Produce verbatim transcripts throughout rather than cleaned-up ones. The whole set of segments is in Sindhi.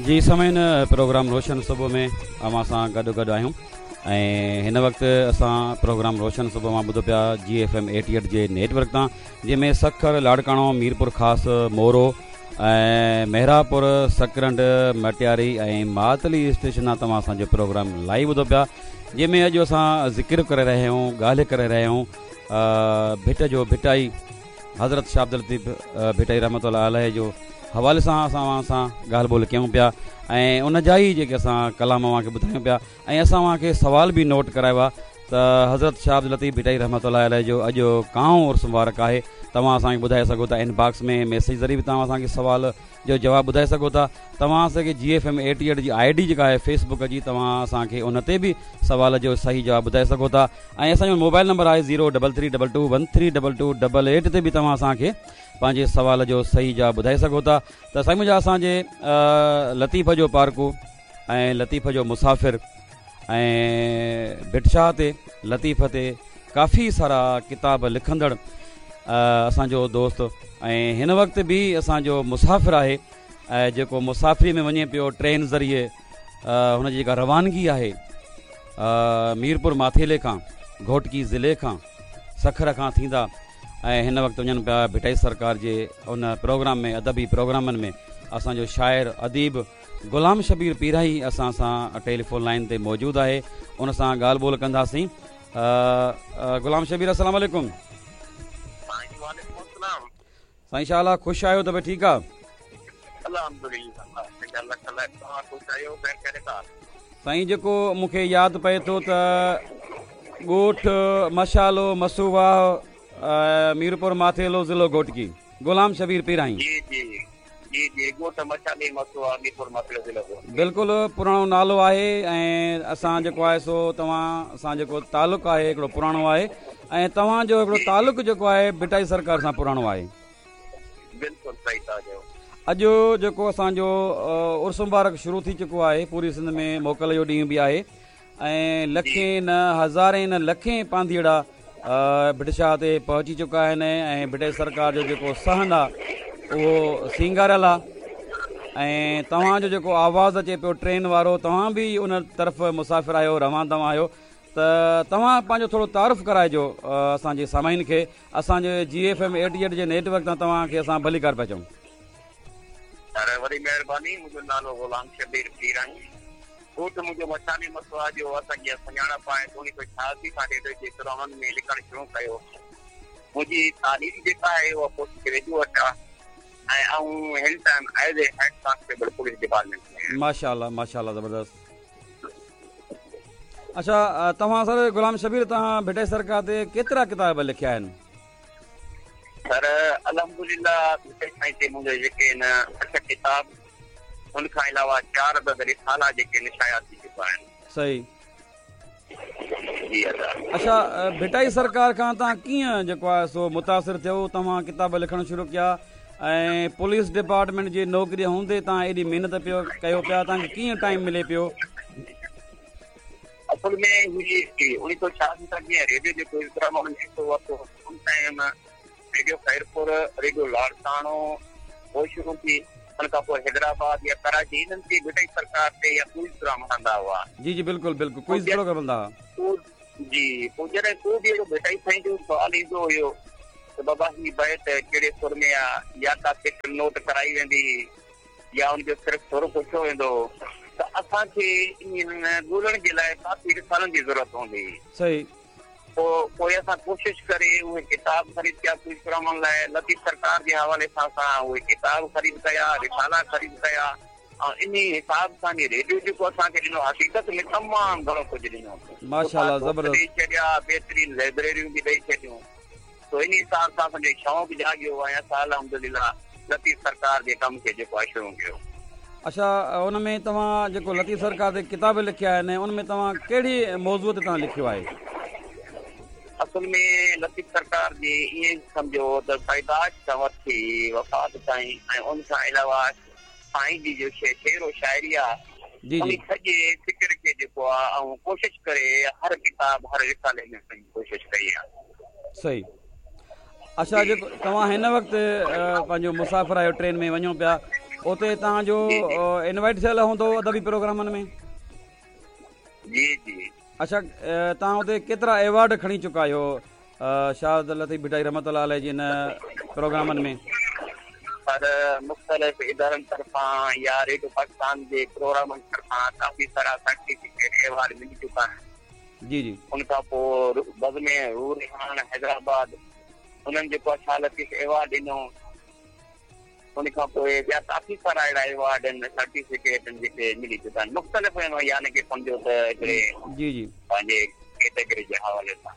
جي سامعين، پروگرام روشن صبح ۾ اوهان سان گڏ گڏ آهيون ۽ هن وقت اسان پروگرام روشن صبح مان ٻڌو پيا جي ايف ايم ايٽي ايٽ جي نيٽ ورڪ تان، جنهن ۾ سکر، لاڙڪاڻو، ميرپور خاص، مورو ۽ مهراپور، سڪرنڊ، مٽياري ۽ ماتلي اسٽيشن تان توهان اسان جو پروگرام لائيو ٻڌو پيا، جنهن ۾ اڄ اسان ذڪر ڪري رهيا آهيون، ڳالهه ڪري رهيا آهيون ڀٽ جو ڀٽائي حضرت شاهه عبداللطيف ڀٽائي رحمت الله عليه جو حوالي سان اسان اوهان سان ڳالهه ٻولهه ڪيون پيا ۽ ان جا ئي جيڪي اسان ڪلام اوهان کي ٻڌايون پيا ۽ اسان اوهان کي سوال به نوٽ ڪرايو آهي ته حضرت شاهه عبداللطيف ڀٽائي رحمت الله عليه جو اڄ ڪائون عرس مبارڪ آهي. توهان اسان کي ٻڌائي سگهو ٿا، ان باڪس ۾ ميسيج ذريعي به توهان اسان کي سوال جو جواب ٻڌائي سگهو ٿا. توهان اسان کي جي ايف ايم ايٽي ايٽ جي I D جيڪا آهي فيس بڪ جي، توهان اسان کي ان تي به سوال جو صحيح جواب ٻڌائي سگهو ٿا ۽ اسان جو موبائل نمبر آهي zero double three double two one three double two double eight تي به توهان اسان کي پنهنجي سوال جو صحيح جواب ٻڌائي سگهو ٿا. ته سائين منهنجا، اسان جي لطيف جو پارکو ۽ لطيف جو مسافر ۽ ڀٽ شاهه تي، لطيف تي ڪافي سارا ڪتاب لکندڙ اسان جو دوست ۽ هن وقت به اسان جو مسافر آهي، جيڪو مسافري ۾ وڃي پيو ٽرين ذريعي، هن جي جيڪا روانگي آهي ميرپور ماٿيلي کان، گهوٽڪي ضلعي کان، سکر کان ٿيندا ۽ هن وقت وڃن پيا ڀٽائي سرڪار جي ان پروگرام ۾، ادبي پروگرامن ۾. اسان جو شاعر اديب غلام شبير پيرائي اسان سان ٽيليفون لائن تي موجود آهي، ان سان ڳالهه ٻولهه ڪنداسين. غلام شبير، السلام عليڪم. وعليڪم السلام. سائين شاء الله خوش آهيو؟ ته ٺيڪ آ؟ الحمدلله، الله تعالي توهان خوش آهيو؟ خير خيريت آ؟ سائين جيڪو مون کي ياد پئي ٿو ته ڳوٺ مشالو، مسوواهه، ميرپور ماٿيلو، ضلعو گهوٽڪي، غلام شبير پيرائي. جي جي جي جي، ڳوٺ مشالي، مسوواهه، ميرپور ماٿيلو، ضلعو گهوٽڪي. بلڪل پراڻو نالو آهي ۽ اسان جيڪو آهي سو توهان سان جيڪو تعلق آهي هڪڙو پراڻو آهي ۽ توهان جو هڪڙو تعلق جيڪو آهي ڀٽائي سرڪار سان پراڻو آهي. بلڪل صحيح ٿا چئو. اڄ جيڪو اسان جو عرس مبارڪ شروع ٿي چڪو آهي، پوري سنڌ ۾ موڪل جو ڏينهن به آهي ۽ لکين نه هزارين نه لکين پانڌيئڙا ڀٽ شاهه تي پهچي چڪا آهن ۽ ڀٽائي سرڪار جو جيڪو صحن آهي اهو سينگاريل آهي ۽ توهان جو جيڪو آواز اچي پيو ٽرين وارو، توهان به ان طرف مسافر آهيو، روان دوان آهيو، ته توهان پنهنجو ٿورو تعارف ڪرائجو اسان جي سامعين کي. اسان جي جي ايف ايم ايٽي ايٽ جي نيٽ ورڪ تان توهان کي اسان ڀليڪار پيا چئون. سر وڏي مهرباني. منهنجو نالو غلام شبير پيرائي، ڳوٺ منهنجو مشالي مسوا جو اسان جي سڃاڻپ آهي. اڻويهه سؤ ڇهاسي کان ريڊيو جي پروگرامن ۾ لکڻ شروع ڪيو. منهنجي تعليم جيڪا آهي اها پوسٽ گريجوئيٽ آهي ۽ آئون هن time as a head constable police department ۾ آهيان. ماشاءالله ماشاءالله زبردست. اڇا توهان سر غلام شبير توهان ڀٽائي سرڪار تي ڪيترا ڪتاب لکيا آهن؟ سر الحمدلله ڀٽائي سائين تي منهنجا جيڪي آهن اٺ ڪتاب، ان کان علاوه چار عدد رسالا جيڪي آهن شايع ٿي چڪا آهن. صحيح. جي ادا. اڇا ڀٽائي سرڪار کان توهان ڪيئن جيڪو آهي سو متاثر ٿيو، توهان ڪتاب لکڻ شروع ڪيا ۽ پوليس ڊپارٽمينٽ جي نوڪري هوندي توهان ايڏي محنت پيو ڪيو پيا، توهان کي ڪيئن ٽائيم ملي پيو؟ اصل ۾ هي اڻويهه سؤ ڇهاسي کان جيئن ريڊيو جو پروگرام انهن حصو ورتو، ان time radio Khairpur, radio Larkana پوء شروع ٿي، ان کان پوء حيدرآباد يا ڪراچي، انهن تي ڀٽائي سرڪار تي يا ڪوئز پروگرام هلندا هئا. جي جي بلڪل بلڪل ڪوئز پروگرام هلندا هئا. جي پوء جڏهن ڪو به اهڙو ڀٽائي سائين جو سوال ايندو هيو ته بابا هي بيت ڪهڙي سر ۾ آ، يا ڪا سٽ نوٽ ڪرائي ويندي هئي يا ان جو صرف سر پڇيو ويندو هو ته اسان کي انهن ڳولڻ جي لاء ڪافي رسالن جي ضرورت هوندي هئي. صحيح. پوء پوء اسان ڪوشش ڪري اهي ڪتاب خريد ڪيا ڪوئز پروگرامن لاء لطيف سرڪار جي حوالي سان اسان اهي ڪتاب خريد ڪيا، رسالا خريد ڪيا ۽ انهي حساب سان جي ريڊيو جيڪو اسان کي ڏنو حقيقت ۾ تمام گهڻو ڪجهه ڏنو. ماشاءالله زبردست. ڏئي ڇڏيا، بهترين لائبريريون به ڏئي ڇڏيون. تو انهي حساب سان اسان جو شوق جاڳيو ۽ اسان الحمدلله لطيف سرڪار جي ڪم کي جيڪو آهي شروع ڪيو. اڇا ان ۾ توهان جيڪو لطيف سرڪار تي ڪتاب لکيا آهن ان ۾ توهان ڪهڙي موضوع تي توهان لکيو آهي؟ اصل ۾ لطيف سرڪار جي ائين سمجهو ته پيدائش کان وٺي وفات تائين ۽ ان کان علاوه سائين جي جو شعر و شاعري آهي جي ان جي. سڄي فڪر کي جيڪو آهي آئون ڪوشش ڪري هر ڪتاب هر رسالي ۾ پنهنجي ڪوشش ڪئي آهي. صحيح. اڇا جيڪو توهان هن وقت پنهنجو مسافر آهيو، ٽرين ۾ وڃو پيا اتي توهان جو انوائيٽ ٿيل هوندو ادبي پروگرامن ۾؟ جي جي. اڇا، توهان اتي ڪيترا ايوارڊ کڻي چڪا آهيو شاهه عبداللطيف ڀٽائي رحمت الله عليه جي ان پروگرامن ۾؟ پر مختلف ادارن طرفان يا ريڊيو پاڪستان جي پروگرامن طرفان ڪافي سارا سرٽيفڪيٽ ايوارڊ ملي چڪا آهن. جي جي. ان کان پوءِ بزم روح رهاڻ حيدرآباد انهن جيڪو آهي شاهه لطيف ايوارڊ ڏنو. ان کان پوءِ ٻيا ڪافي سارا اهڙا ايوارڊ آهن، سرٽيفڪيٽ آهن جيڪي ملي چڪا آهن مختلف، يعني ڪه سمجهو ته هڪڙي جي جي پنهنجي ڪيٽيگري جي حوالي سان.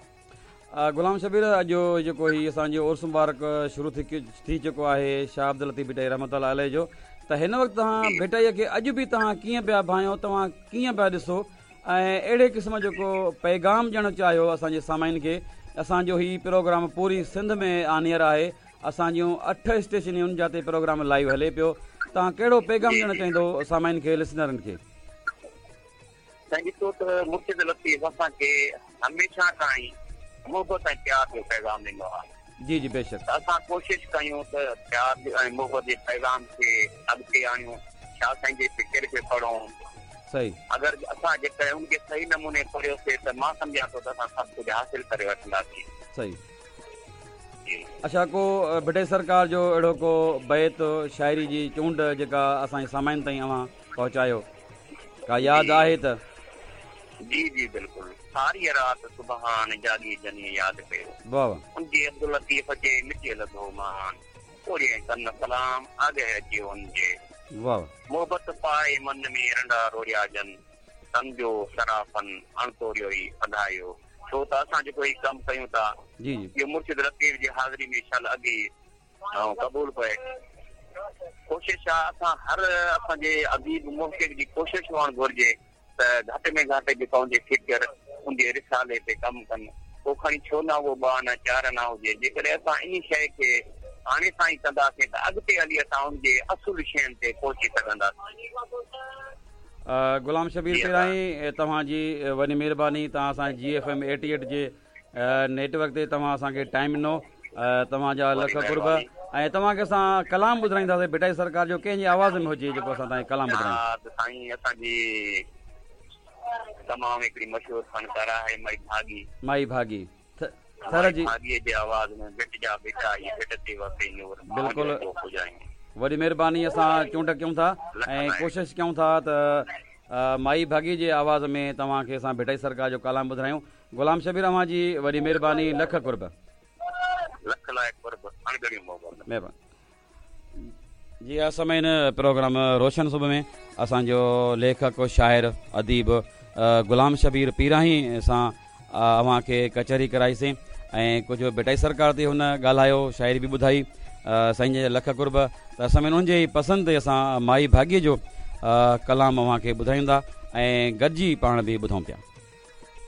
غلام شبير، اڄ جيڪو هي اسان جو عرس مبارڪ شروع ٿي ٿي چڪو آهي شاهه عبدل لطيف ڀٽائي رحمت الله عليه جو، ته هن وقت توهان ڀٽائيءَ کي اڄ به توهان ڪيئن پيا ڀانئيو، توهان ڪيئن پيا ڏسو ۽ اهڙي قسم جو ڪو پيغام ڏيڻ چاهيو اسان جي سامعين کي؟ اسان جو هي پروگرام پوري سنڌ ۾ آنيئر آهي، اسان جون اٺ اسٽيشنيون جاتي پروگرام لائيو هلي پيو، توهان ڪهڙو پيغام ڏيڻ چاهيندو سامعين کي، لسنرن کي؟ سائين ڏسو ته مرشد لطيف اسان کي هميشه کان ئي محبت ۽ پيار جو پيغام ڏنو آهي. جي جي بيشڪ. ته اسان ڪوشش ڪيون ته پيار ۽ محبت جي پيغام کي اڳتي آڻيون، شاهه سائين جي فڪر کي پڙهون. صحيح. اگر اسان جيڪڏهن ان کي صحيح نموني پڙهيوسين ته مان سمجهان ٿو ته اسان سڀ ڪجهه حاصل ڪري وٺنداسين. صحيح. اڇا، ڪو ڀٽائي سرڪار جو اهڙو ڪو بيت، شاعري جي چونڊ جيڪا اسان جي سامعين تائين اوهان پهچايو، ڪا ياد آهي ته؟ جي جي بلڪل. ساري رات سبحان جاڳي جني ياد ڪيو، واهه واهه، ان جي عبدل لطيف جي مٽي لڌو مان، اوڙي ڪن سلام آگي اچي ان جي، واهه، محبت پائي من ۾ رنڊا روڙيا جن، تن جو سرافن اڻتوريو ئي اڌايو. ڇو ته اسان جيڪو هي ڪم ڪيون ٿا، جي جي، اهو مرشد لطيف جي حاضري ۾ شل اڳي ۽ قبول پئي. ڪوشش آهي اسان هر اسان جي اديب محقق جي ڪوشش هئڻ گهرجي ته گهٽ ۾ گهٽ جيڪا ان جي فڪر، ان جي رسالي تي ڪم ڪن، پوءِ کڻي ڇو نه اهو ٻه آنا چار آنا هجي. جيڪڏهن اسان ان شيءِ کي هاڻي سان ئي ڪنداسين ته اڳتي هلي اسان ان جي اصل شين تي پهچي سگهنداسين. غلام شبير پيرائي، توهان جي وڏي مهرباني، توهان اسان جي ايف ايم ايٽي ايٽ جي نيٽ ورڪ تي توهان اسان کي ٽائيم ڏنو، توهان جا لک قرب. ۽ توهان کي اسان ڪلام ٻڌائينداسين ڀٽائي سرڪار جو، ڪنهن جي آواز ۾ هجي جيڪو اسان توهان کي ڪلام ٻڌايون؟ سائين اسان جي تمام هڪڙي مشهور فنڪاره آهي مائي ڀاڳي. مائي ڀاڳي ٿر جي ڀاڳيءَ جي آواز ۾ ڀٽ جا ڀٽائي ڀٽ تي وسي نور. بلڪل، وڏي مهرباني. اسان چونڊ ڪيون ٿا ۽ ڪوشش ڪيون ٿا ته مائي ڀاڳي جي آواز ۾ توهان کي اسان ڀٽائي سرڪار جو ڪلام ٻڌايون. غلام شبير، اوهان جي وڏي مهرباني، لک قرب. لک لاءِ قرب، اڻڳڻيون محبت. مهرباني. جي ها سامعين، پروگرام روشن صبح ۾ اسان جو ليکڪ، شاعر، اديب غلام شبير پيراهي سان اوهان کي ڪچهري ڪرائيسين ۽ ڪجهه ڀٽائي سرڪار تي هن ڳالهايو، شاعري به ٻڌائي. سائين جا لک قرب. ته سامعين، ان جي پسند تي اسان مائي ڀاڳيءَ جو ڪلام اوهان کي ٻڌايون ٿا ۽ گڏجي پاڻ به ٻڌون پيا.